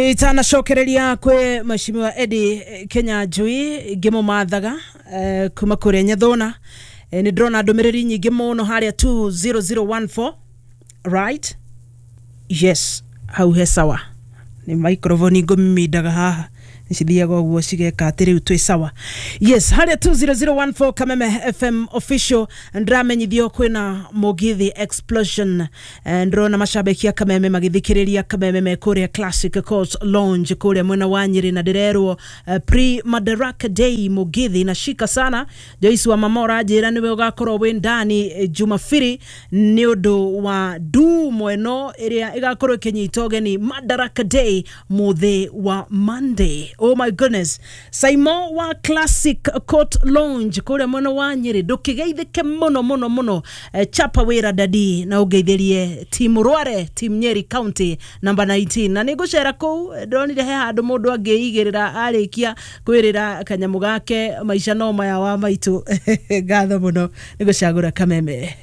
Itanacokereria kwĩ Mheshimiwa Eddie Kenya Njui ngĩmũmathaga kuma kũrĩa Nyathũna, nĩ ndĩrona ndũmĩrĩri nyingĩ mũno harĩa 20014, right? Yes, hau he sawa. Nĩ microphone ngũmimindaga haha cithiaga ũguo cigeka atĩ rĩu twĩ sawa. Yes, harĩa 20014 Kameme FM official, ndĩramenyithio kwĩna Mũgithi explosion. Ndĩrona macambĩki a Kameme magĩthikĩrĩria Kameme me kũrĩa Classic Court Lounge kũrĩa mwena wa Nyĩrĩ, na ndĩrerwo pre Madaraka Day Mũgithi na shika sana. Joyce wa mama ũranjĩra nĩwe ũgakorwo wĩ ndani Jumapili nĩ ũndũ wa ndumo ĩno ĩrĩa ĩgakorwo ĩkĩnyita ũgeni Madaraka Day mũthĩ wa Monday. Oh my goodness, Saimo wa Classic Court Lounge kũrĩa mwena wa Nyĩrĩ, ndũkĩgeithĩke mũno mũno mũno. Chapa wĩra dadi na ũngeithĩrie team Rware, team Nyeri County number 19, na nĩ ngũcera kũu. Ndonire he handũ mũndũ angĩigĩrĩra arĩkia kwĩrĩra kanyamũ gake maica no maya wa maitũ. Ngatho mũno nĩ gũcagũra Kameme.